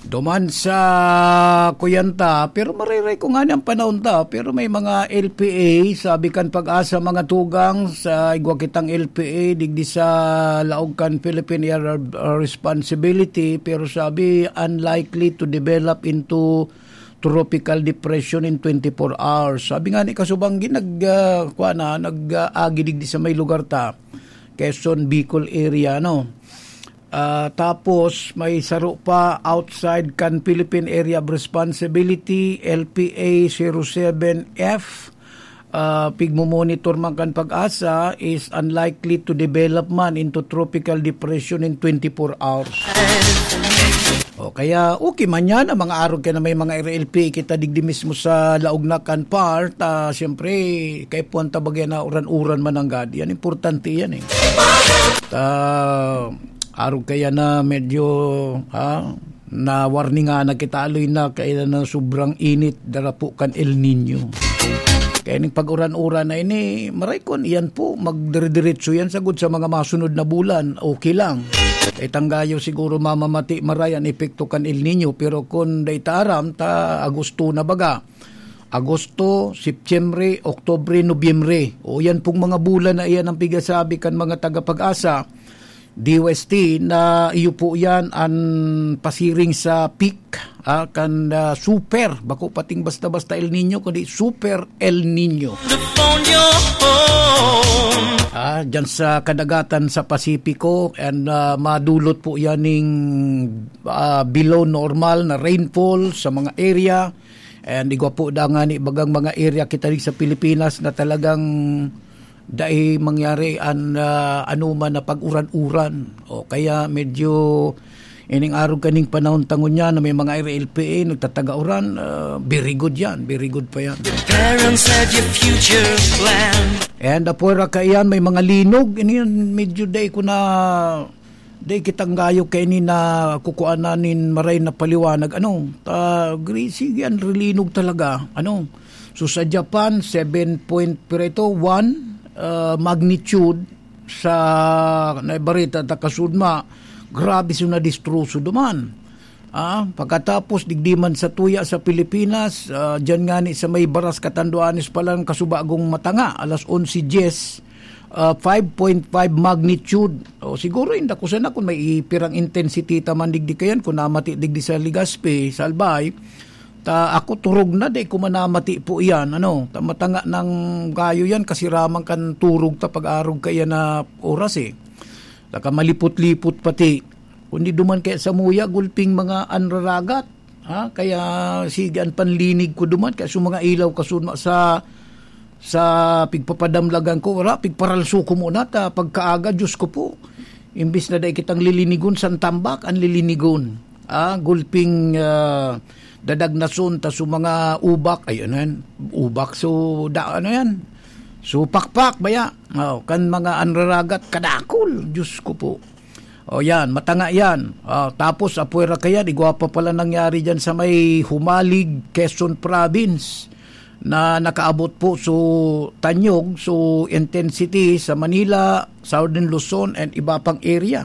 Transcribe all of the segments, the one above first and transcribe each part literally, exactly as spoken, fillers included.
Duman sa kuyanta, pero mariray ko nga niyang panahon ta, pero may mga L P A, sabi kan Pag-asa, mga tugang, sa igwa kitang L P A, digdi sa laog kan Philippine Area of Responsibility, pero sabi, unlikely to develop into tropical depression in twenty-four hours. Sabi nga ni Kasubanggi, nag, ah, kwa na, nag, ah, agi digdi sa may lugar ta, Quezon, Bicol area, no? Ah, tapos may saro pa outside kan Philippine Area of Responsibility, L P A zero seven F. Ah, pigmomonitor man kan Pag-asa is unlikely to develop man into tropical depression in twenty-four hours. O kaya, okay man yan, ang mga arog kaya na may mga R L P kita digdi mismo sa laog na kan part, ah, siyempre, kay puwan ta bagay na uran-uran man ang gad. Yan, importante yan eh. Ta, arog kaya na medyo, ha, na warningan na kita aloy na kaya na sobrang init, darapo kan El Nino. Kaya ning pag-uran-uran na ini, maray kon iyan po, magdire-diretso yan sagod sa mga masunod na bulan, okay lang. Kay tanggayo siguro mamamati maray an epekto kan El Nino, pero kun dai ta aram, ta Agosto na baga. Agosto, Setyembre, Oktubre, Nobyembre. O yan pong mga bulan na iyan ang pigasabi kan mga taga-Pag-asa, D O S T, na iyo po yan an pasiring sa peak, ah, kan, ah, super, bako pating basta-basta El Nino, kundi super El Nino. Ah, dyan sa kadagatan sa Pasipiko, and, ah, madulot po yan ning, ah, below normal na rainfall sa mga area. And igwa po da nga ni bagang mga area kita rin sa Pilipinas na talagang dai mangyari an, ah, anuman na pag-uran-uran. O kaya medyo ining arog kaning panahon tangon niya na may mga R L P A nagtataga uran, ah, very good yan, very good pa yan. Parents had your future plan. And apwera kaiyan, may mga linog, ini yan, medyo dai ko na, dai kitang gayo kaini na kukuanan nin maray na paliwanag. Ano, ta, gri-, sige, ang rilinog talaga. Ano, so sa Japan, seven point, pero ito, one, ah, magnitude sa naibarita ta kasudma, grabe so nadistroso duman. Ah, pagkatapos, digdi man sa tuya sa Pilipinas, ah, dyan nga ni sa may Baras Catanduanes pa lang kasubagong matanga, alas onse diyes, ah, five point five magnitude. O, siguro, inda ko sana kung may ipirang intensity ta man digdi kayan, kung namati digdi sa Legazpi, sa Albay, ta ako turog na, di ko manamati po iyan, ano, ta matanga ng gayo yan, kasi ramang kan turog ta pag-arog kaya na oras eh. Saka malipot-lipot pati. Kundi duman kaya sa muya, gulping mga anraragat. Ha? Kaya sige, an panlinig ko duman, kaya sa mga ilaw kasunma sa, sa pigpapadamlagan ko, wala, pigparalso ko muna, ta pagkaaga, Diyos ko po. Imbis na dai kitang lilinigon, san tambak, ang lilinigon. Ah, gulping, ah, dadagnason, ta sa mga ubak, ayun yan, ubak, so, da, ano yan? So, pakpak, baya? Oh, kan mga anraragat, kadakol, Diyos ko po. O yan, matanga yan. Ah, tapos, apwera kaya, igwa pa pala nangyari dyan sa may Humalig, Quezon Province, na nakaabot po so tanyog, so intensity sa Manila, Southern Luzon, and iba pang area.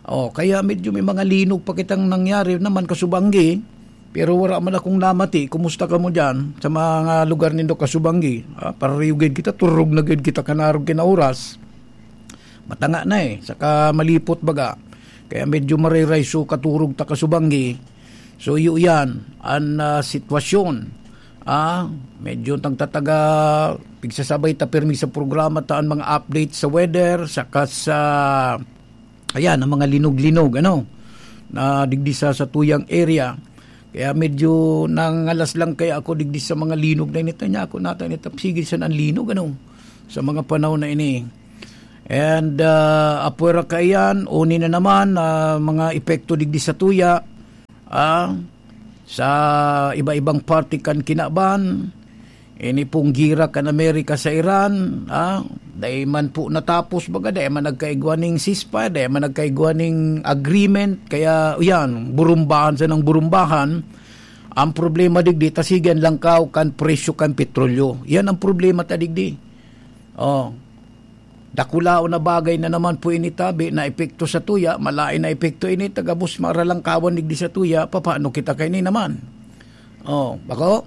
O, kaya medyo may mga linog pa kitang nangyari naman kasubanggi, pero wala man akong namati. Kumusta kamo dyan sa mga lugar nindo kasubanggi? Ah, parariyugid kita, turog na gid kita kanarog kinaoras. Matanga na eh, saka malipot baga. Kaya medyo mariray so katurog ta kasubanggi. So, iyo yan, an, ah, sitwasyon. Ah, medyo tagtataga, pigsasabay ta pirmi sa programa ta an mga update sa weather, saka sa, ayan, ang mga linog-linog, ano, na digdi sa, sa tuyang area. Kaya medyo nangalas lang kaya ako digdi sa mga linog na inita niya ako nata nita. Sige, san ang linog, ano, sa mga panahon na ini. And, ah, apwera kaiyan, uni na naman, ah, mga epekto digdi sa tuya, ah, sa iba-ibang parte kan kinaban, ini pong gira kan Amerika sa Iran, ah, dai man po natapos, baga, dai man nagkaigwa ning ceasefire, dai man nagkaigwa ning agreement, kaya, yan, burumbahan sa nang burumbahan. Ang problema digdi, ta sige an langkaw kan presyo kan petrolyo. Yan ang problema ta digdi. Oh. Dakulaon na bagay na naman po ini tabi na epekto sa tuya, malain na epekto ini, ta gabos maralangkawan digdi sa tuya, papaano kita kaini naman? Oh, bako?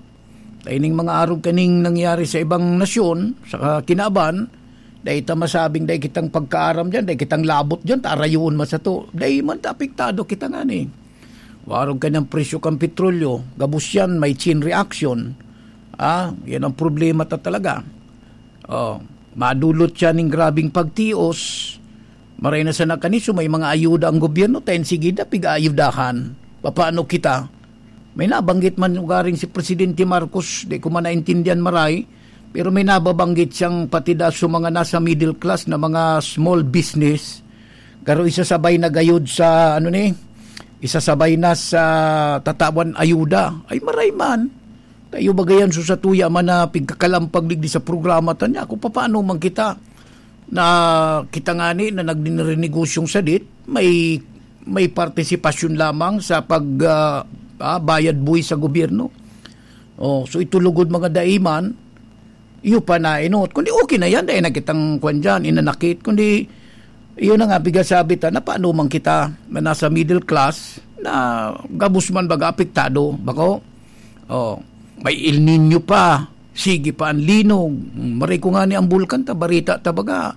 Ta ining mga arog kaning nangyari sa ibang nasyon, sa kinaban, dai ta masabing dai kitang pagkaaram diyan, dai kitang labot diyan, ta arayuon man sato. Dai man ta apektado kita ngani. Warog ka ng presyo kan petrolyo, gabos yan, may chain reaction. Ah, yan ang problema ta talaga. Oh, madulot siya ning grabing pagtios. Maray na sana kaniso, may mga ayuda ang gobyerno, ta yan sige da, pig-aayudahan. Papaano kita? May nabanggit man ugaring si Presidente Marcos, di ko man naintindihan maray, pero may nababanggit siyang patida sa mga nasa middle class na mga small business. Garo isasabay na gayod sa, ano ni, isasabay na sa tatawan ayuda. Ay, maray man. Tayo bagayan so sa tuya man na pigkakalampag digdi sa programa ta niya. Kung papaano man kita na kita ngani na nagdinirinigosyong sadit, may, may partisipasyon lamang sa pag, ah, ah, bayad buwis sa gobyerno. Oh, so ito lugod mga daiman, iyo pa na inot. Kundi okay na yan, dahil na kitang kwan dyan, inanakit. Kundi, iyo na nga, bigasabi ta, na paano man kita na nasa middle class, na gabos man baga apektado, bako? Oh, may El Niño pa, sige pa ang linog. Maray ko nga ni ang bulkan ta, barita ta baga.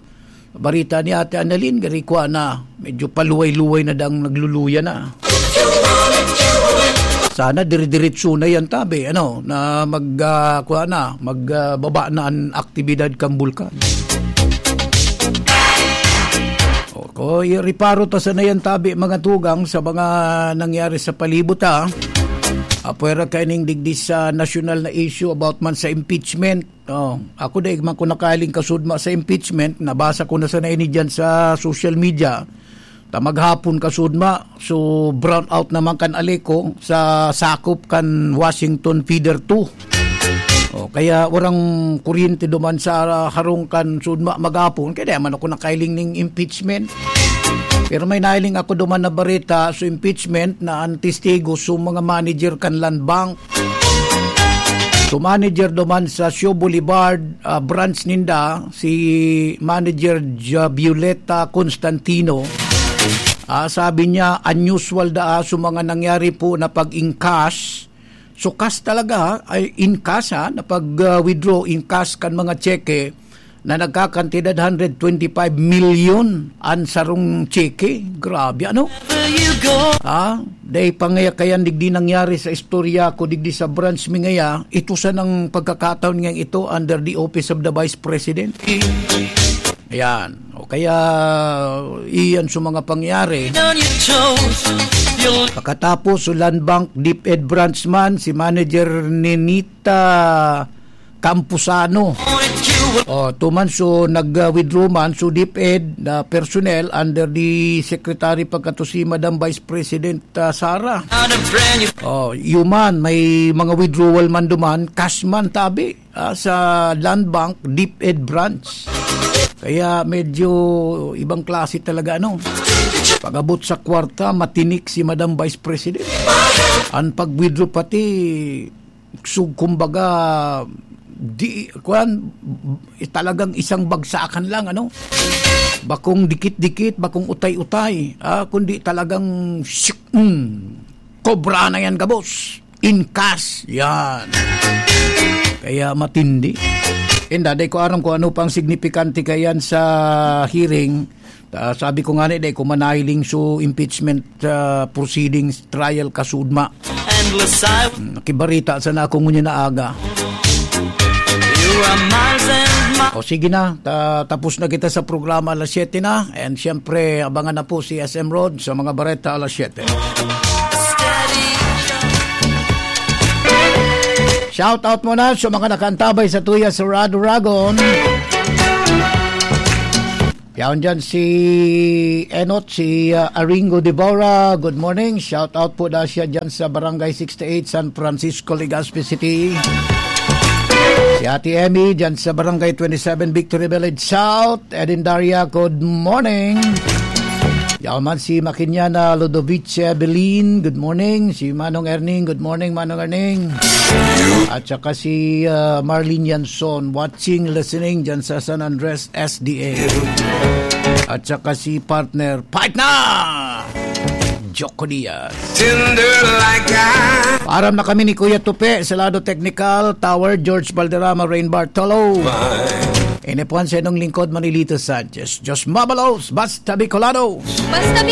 Barita ni Ate Annalyn, gari kwa na, medyo paluway-luway na dang nagluluya na. Sana dire-diretso na yan, tabi, ano, na mag, ah, kwa na, mag, ah, baba na ang aktibidad kan bulkan. O, ko, ireparo ta sana yan, tabi, mga tugang, sa mga nangyari sa palibot, ha. Apwera kaining digdi sa nasyonal na issue about man sa impeachment. Oh, ako dai man ko nakahiling kasudma sa impeachment, nabasa ko na sana ini diyan sa social media. Ta maghapon kasudma, so brown out naman kan Aleco sa sakop kan Washington Feeder two. Oh, kaya warang kuryente duman sa harong kan sudma maghapon, kaya dai man ako nakahiling ning impeachment. Pero may nahiling ako duman na bareta sa impeachment na ang testigo sa mga manager kan Land Bank. So, manager duman sa Sio Boulevard, ah, branch ninda, si Manager Ja-, Violeta Constantino, ah, sabi niya, unusual daa sa mga nangyari po na pag-encash. So, cash talaga, ha? Ay, in cash, ha? Na pag, ah, withdraw in cash kan mga tseke, na nagkakantidad hundred twenty-five milyon an sarong tseke. Grabe, ano? Ah, dai pa ngaya kayan digdi nangyari sa istorya ko digdi sa branch mi ngaya. Ito sanang pagkakataon ngayang ito under the office of the Vice President. Ayan. O kaya, iyan sa mga pangyari. Pakatapos, so Land Bank DepEd branch man, si Manager Nenita Campusano. O, tuman so nag-withdraw man so DepEd na personnel under the secretary pagkato si Madam Vice President, ah, Sara. O, iyo man, may mga withdrawal man duman, cash man tabi, ah, sa Land Bank DepEd branch. Kaya medyo ibang klase talaga, ano. Pag-abot sa kwarta, matinik si Madam Vice President. Ang pag-withdraw pati, so, kumbaga, di, kuwan, talagang isang bagsakan lang, ano? Bakong dikit-dikit, bakong utay-utay, ah, kundi talagang shik, mm, kobra na yan, gabos. In cash, yan. Kaya matindi. Inda, di ko aram kung ano pang signifikante kayan sa hearing. Ah, sabi ko nga ni, di ko manahiling so impeachment, ah, proceedings, trial kasudma. Hmm, nakibarita sana ako ngunyan na aga. O sige na, ta-, tapos na kita sa programa alas siyete na. And siyempre, abangan na po si S M Rod sa mga bareta alas siyete. Shout out muna sa mga nakaantabay sa tuya sa Raduragon. Yaon dyan si Enot, si, ah, Aringo Devora. Good morning. Shout out po daw siya dyan sa Barangay sixty-eight, San Francisco, Legazpi City. Si Ate Emmy dyan sa Barangay twenty-seven, Victory Village South. Edin Daria, good morning. Yaman si Makinyana Ludovice Belin, good morning. Si Manong Erning, good morning, Manong Erning. At saka si uh, Marlene Yanson, watching, listening dyan sa San Andres S D A. At saka si partner, partner! Joko Diaz. Tender like I Aram na kami ni Kuya Tupe sa lado technical, Tower, George Valderrama, Rain Bartolo. Ini po ang senong lingkod, Manilito Sanchez. Diyos mabalos, basta Bicolano. Basta Bicolano.